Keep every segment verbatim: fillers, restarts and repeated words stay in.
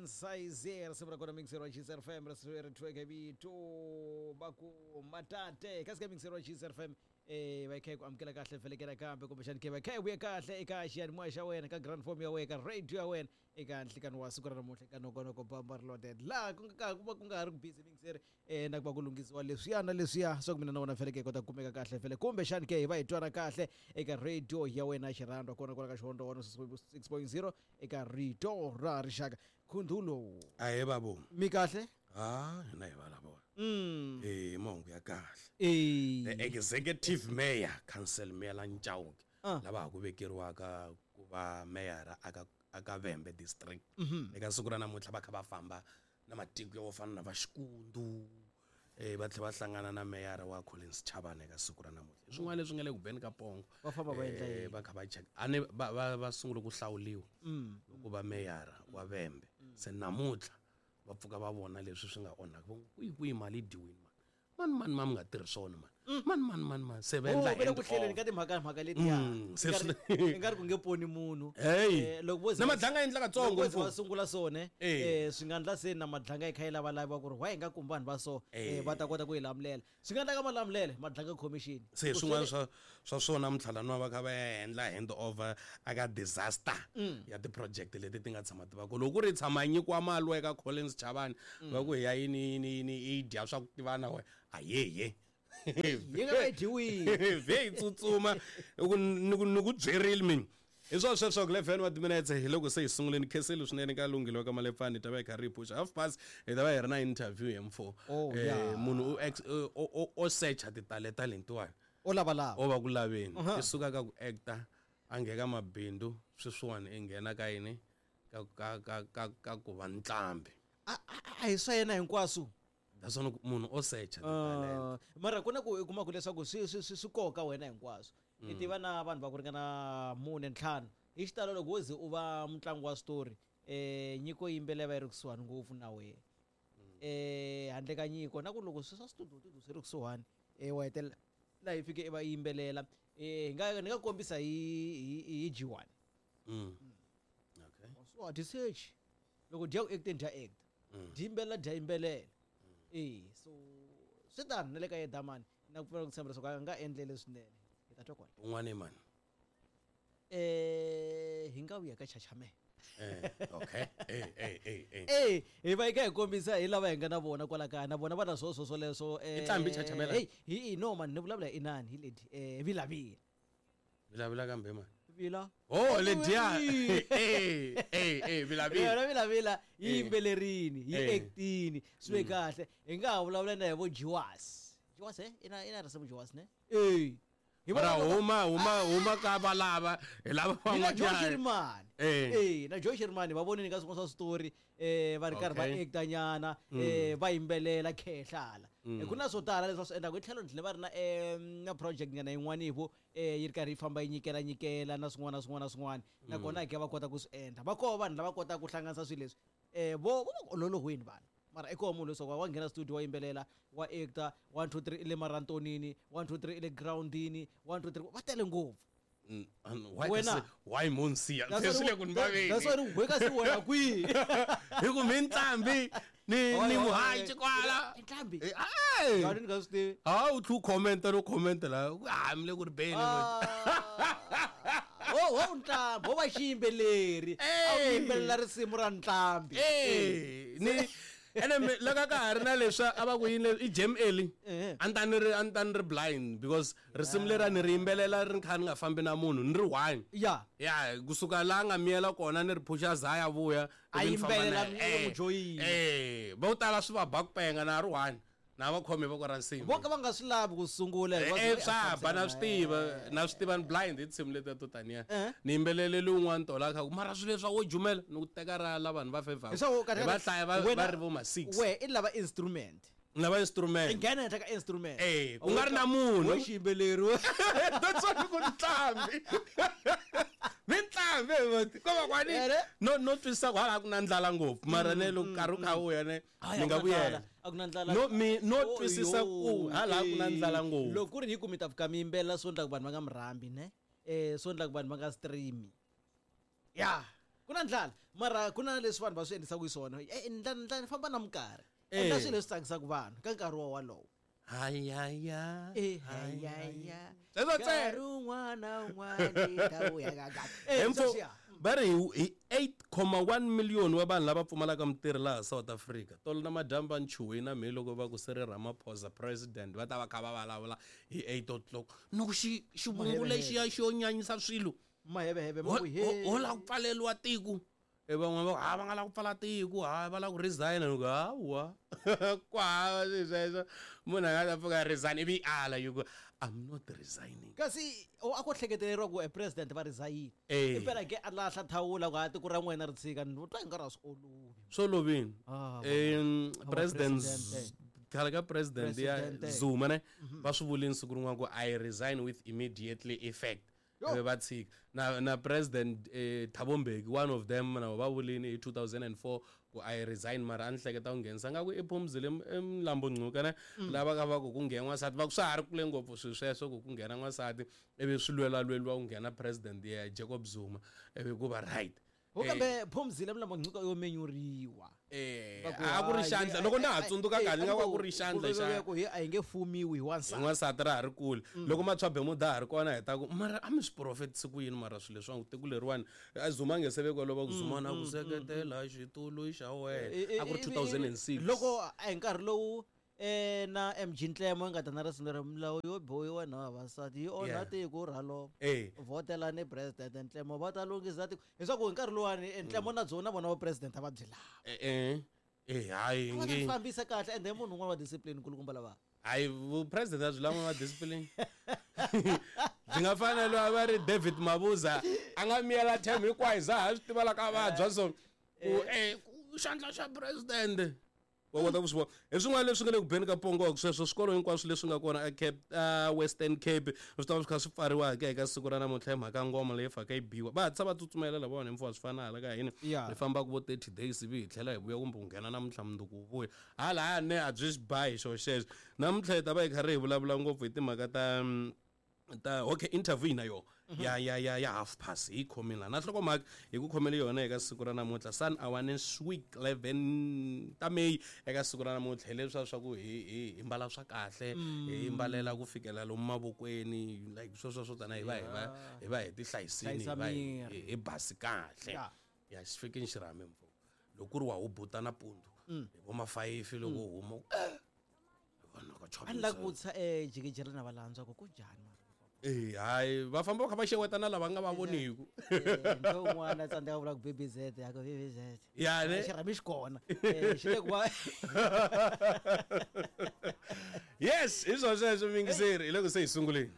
Size risimu ra kona mixer wa Gzer F M ri thweke vito va ku matate kasi ka mixer wa Gzer F M eh va kha ku amukela kahle felekela kambe kumbexani ke va kha vuye kahle eka xiyanimoya xa wena ka grand form ya wena ka radio ya wena eka nhlikani wa siku ra namuntlha eka nongonoko bamba reloaded laha ku nga ku va ku nga ha ri ku busy mixer eh na ku va ku lunghisiwa leswiya na leswiya swa ku mina na wena feleke hi kota ku kumeka kahle fele kumbexani ke hi va hi twana kahle eka radio ya wena xirhandwa kona kwala ka Xihondzo one six point zero eka rito ra rixaka khundulo ahe babo mi kahle ah hina hi va lava mm eh mahungu ya kahle eh the executive mayor council mayor la Chauke Ah. lava ha ku vekeriwaka ku va mayor aka aka Vhembe district eka siku ra namuntlha va kha va famba na matiko yo fana na va Xikundu eh va tlhela va hlangana na mayor wa Collins Chabane eka siku ra namuntlha hi swin'wana leswi nga le ku beni ka pongo Va famba va endla Eh, yini? va kha va check a ni va va va sungule ku hlawuliwa mm ku va mayor wa Vhembe se namuntlha va pfuka va vona leswi swi nga onhaka va ku kwihi kwihi mali yi dyiwini mani mani mani ma mi nga tirhi swona mani mani mani mani mani se va Oh, endla va le ku hand hleleni off. ka timhaka mhaka letiya Mm, se swi- i nga ri ku nge poni munhu Hey. Eh, loko vo ze Na va- madlanga endla katsongo loko vo ze va mfo. sungula swona Eh. eh swi nga endla se na madlanga yi kha yi lavalava ku ri why hi nga kumi vanhu va so Eh. eh, va ta kota ku yi lamulela swi nga endla ka malamulele madlanga commission se Ku swin'wana swele- swa swa swona namuntlha laniwa va kha va ya endla hand over aka disaster ya ti-project leti ti nga tshama ti va ko loko ku ri tshama nyikiwa mali eka Collins Chabane va ku hi ya yini yini yini yi dya swa ku tivana we ayeye yi nga va yi dyiwile vhe yi tsutsuma hi ku ni ku ni ku byerile mina hi swona sweswo ku eleven wa timinetse hi loko se hi sunguleni khensile swinene ka lunghilo ka malepfani hi ta va hi karhi hi phuxa half past hi ta va hi ri na interview hi mfo Oh, Eh, yeah. munhu u ex- o- o o searcha titalenta letiwani o lavalava o va ku laveni Uh-huh. i suka ka ku acta a nghena ka mabindzu sweswiwani i nghena ka yini ka ka ka ka ka ku va ntlambi a a- a hi swa yena hinkwaswo naswona ku munhu o searcha titalenta Ah, mara ku na ku i kuma ku leswaku swi swi swi swi koka wena hinkwaswo i tiva na vanhu va ku ringana mune ntlhanu hi xitalo loko wo ze u va mutlangi wa switori eh nyiko yimbelela va yi ri kusuhani ngopfu na wena eh handle ka nyiko na ku loko swi swa studio studio swi ri kusuhani eh wa hetelela laha yi fike i va yimbelela eh hi nga ni nga kombisa hi hi hi G one Mm. okay so a dyi search loko dya ku acteni dya act dyi yimbelela dya yimbelela eh so swi tano na le ka yedamani na ku pfumela ku tshemba leswaku a nga endlele swinene hi ta twa kwala un'wana i mani eh hi nga vuya ka chachame eh okay eh eh eh eh eh hi va hi kha hi kombisa hi lava hi nga na vona kwala kaya na vona va na swo swo swoleswo eh I nqambi Chachamela? hey hi no man ni vulavula hi inani hi leti eh vilavila vilavila kambe mani vila oh lediya eh eh eh vilavila yona vilavila yi Eh. yimbelerini yi Eh. actini swi ve kahle hi nga ha vulavula na hi vo jiwas jiwas eh ina ina risimu jiwas ne eh hi mara vona- huma huma huma ka valava hi lava hi na Joe van'wanyana Shirimani Eh. eh na Joe Shirimani va vonini ka swin'wana swa switori eh va ri karhi va Okay. acta nyana eh va yimbelela khehlala Eh, ku na swo tala leswi va swi endlaka hi tlhelo ni tlhela va ri na eh na project nyana yin'wana vo eh yi ri karhi yi famba yi nyikela nyikela na swin'wana na swin'wana na swin'wana nakona hi ke va kota ku swi endla va koho vanhu lava kotaka ku hlanganisa swilo leswi eh vo vo va ku ololoweni vanhu mara i koho munhu leswaku wa nghena studio wa yimbelela wa acta one two three i le marantonini one two three i le groundini one two three va tele ngopfu Mm, and why Wena. kasi- why monsiya That's se swi le why ku ni that's why vaveni ni weka si wena kwihi hi ku mi ntlambi ni ni muhaci kwala I nqambi Eh, ai. Ya, ni nga swi tivi ha u tlhe u commenta no commenta la ha mi le ku ri beni Ah. ho ho nqambi ho va xiyimbeleri a wu Eh. yimbelela risimu ra nqambi Eh, ni ene mi- loko ka ha ri na leswi a va ku yini leswi, i jam early Eh. a ni ta ni ri a ni ta ni ri blind because risimu leri a ni ri yimbelela ri kha ni nga fambi na munhu ni ri one ya ya kusuka laha nga miyela kona ni ri phusha za ya vuya A ivi ni famba yimbelela na mi- yena. n'wi joyina. eh vo tala swi va ba ku penga na ri one na va khome voko ra nsimbi vo ka va nga swi lavi ku sungula Eh, hikuva eh, swi- swa ba na swi tiva na swi tiva ni blind hi tinsimu letiya to taniya Eh. ni yimbeleleli un'wana tola kha ku mara swilo leswi a wo jumela ni ku teka ra la vanhu va fevha Leswaku kahle- va hlaya va wena- va ri vo ma six we i lava instrument ni lava i instrument nghena henhla ka instrument Eh, ku nga ri na munhu. wo xiyimbeleri we. that's why ni ku nqambi mi nqambi ko va kwani Ere? no no twisisa ku hala ku na ndlala ngopfu mara ne loko nkarhi wu kha wu ya ne Hayi, ni a nga ku na ndlala, vuyela a ku na ndlala. no mi no Oh, twisisa yo, ku hala ku na eh. ndlala ngopfu loko ku ri hi ku mi ta fika mi yimbelela swo endla ku vanhu va nga mi rhambi ne eh swo endla ku vanhu va nga streami ya Ku na ndlala mara ku na leswi vanhu va swi endlisaka xiswona. Eh ndlala ndlala famba na minkarhi. Endla swilo leswi tsakisaka vanhu ka nkarhi wa wolowo. Hayaya. Eh hayaya. Sweswo ntsena. Nkarhi wun'wana wun'wana ta vuya ka ka. Eh Emfo sweswiya. va ri hi eight comma one million wa vanhu lava pfumalaka mintirho laha South Africa. Tolo na madyambu va nchuhile na mehe loko va ku Cyril Ramaphosa president va ta va kha va vulavula hi eight o'clock. Ni ku xi xivungu lexiya xi yo nyanyisa swilo. Maheveheve ma Ho ku he. ho lava ku pfaleriwa tiko. E van'wana va ku ha va nga lava ku pfala tiko, ha va lava ku resign. Ni ku hawa. Ku hava swilo sweswo. Munhu a nga ta pfuka a resign ivi ala yi ku I'm not resigning. Kasi o a ko hleketeleriwa ku e president va resign. Eh. Impela ke a lahla thawula ku ha tiko ra n'wina ri tshika ni twa i nga ri a swi olovi. Swi olovile. Ah, Em, va president president. khale ka president ya President. Zuma ne va swi vulini siku rin'wana ku I resign with immediately effect. Yo. Ivi va tshika. Na na president eh, Thabo Mbeki one of them na va vulini hi two thousand and four ku I resign mara a ni hleketa ku nghenisa nga ku i Phumzile Mlambo Ngcuka ne lava ka va ku ku nghena n'wansati va ku swa ha ri kule ngopfu swilo sweswo ku ku nghena n'wansati ivi swi lwelalweliwa ku nghena president ya Jacob Zuma ivi ku va right. Ho kambe Phumzile Mlambo Ngcuka yo menyuriwa. Eh, Va ku a ku ri hayi, xandla eh, loko na ha eh, tsundzuka eh, kahle nga a ku ku ku ri xandla ku xa ku hi a hi nge fumiwi hi wansati. hi n'wansati ra ha ri kule. Loko Matshwa Bemuda ha ri kona hi ta ku mara a mi swi profetisi ku yini mara swilo leswiwani tiko leriwani a Zuma a nge se vekiwa lova ku Zuma na ku seketela xitulu xa wena a ku ri two thousand and six. Loko a hi nkarhi lowu eh na M G Ntlemo yi nga ta na risimu leri milawu yo bohiwa na vavasati yi onha Yeah. tiko ra lova. Eh. Votelani president Ntlemo va ta lunghisa tiko. Leswaku hi nkarhi luwani Ntlemo na byona vona va president a va byi lava. Eh, eh. Eh, hayi Va ta nge. fambisa kahle ende munhu un'wana wa discipline kulukumba lava. Hayi vu president a byi lava va discipline. Byi nga fana loyi a va ri David Mabuza a nga miyela term hinkwayo za ha swi tiva la ka vabya so ku eh ku xandla xa president. Wa kota ku swi vona. Hi swin'wana leswi nga le ku beni ka pongo sweswo swikolo hinkwaswo leswi nga kona a Cape, a Western Cape swi ta va swi kha swi pfariwa ke eka siku ra namuntlha hi mhaka ngoma leyi faka yi biwa. Va hatlisa va tsutsumela lavawani hi mfuwa swi fana hala ka hina. Yeah. Hi fambaka vo thirty days ivi hi tlhela hi vuya kumbe ku nghena namuntlha mundzuku wu vuya. Halaya ne a byi xi ba hi xo xexo. Namuntlha hi ta va hi karhi hi vulavula ngopfu hi timhaka ta, ta okay interview na yona ya ya ya ya half past hi khomile la na nhlokomhaka hi ku khomele yona eka siku ra namuntlha Sun Awareness Week eleven ta May eka siku ra namuntlha hi leswiya swa ku hi hi hi mbala swa kahle hi mbalela ku fikela lomu mavokweni like sweswo swo tana hi va hi va hi va hi ti hlayisini hi Hlayisa va hi miri. hi basi kahle. Yeah. Ya xi fikini xirhami mfo loko ku ri wa hubuta nampundzu hi vo ma five loko u huma eh vanhu ka A ni lava ku vutisa eh jikijela na valandzwa ku ku njhani mara. Eh, hayi va famba va kha va xeweta na lava nga va voniku. Eh, ntho un'wana a tsandzeka ku vula ku B B Z ya ku B B Z. Ya ne? Xirhami xi kona. Eh, xi le ku va Yes, hi swona sweswo mingiseri hi loko se hi sunguleni.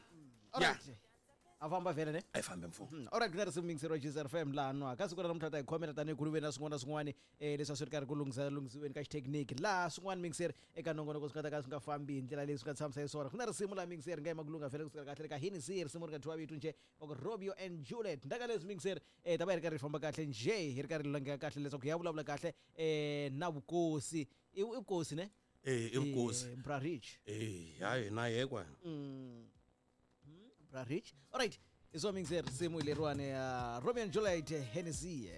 All Ya. right. A famba vhele ne? A hi fambe mfo. Mm, all right, ku na risimu mingiseri wa G Z F M laha nwa. Ka siku ra namuntlha ta hi khomela tanihi ku ri na swin'wana na swin'wana, eh, leswi a swi ri karhi ku lunghisa lunghisiweni ka xithekiniki. Laha swin'wana mingiseri eka nongonoko swi nga ta ka swi nga fambi hi ndlela leyi swi nga tshamisa xiswona. Ku na risimu laha mingiseri nga yima ku lungha vhele kusukela kahle ka Hennessy, risimu ri nga thyiwa vito njhe wa ku Romeo and Juliet. Ndaka leswi mingiseri, eh, ta va hi ri karhi hi famba kahle njhe, hi ri karhi hi langeka kahle leswaku hi ya vulavula kahle, eh, na vukosi. I, i vukosi ne? Eh, i vukosi. Eh, Bra Rich. Eh, hayi na yekwa. Mm. Bra Rich. All right. Hi swo mingiseri risimu leriwani ya Romeo and Juliet Hennessy.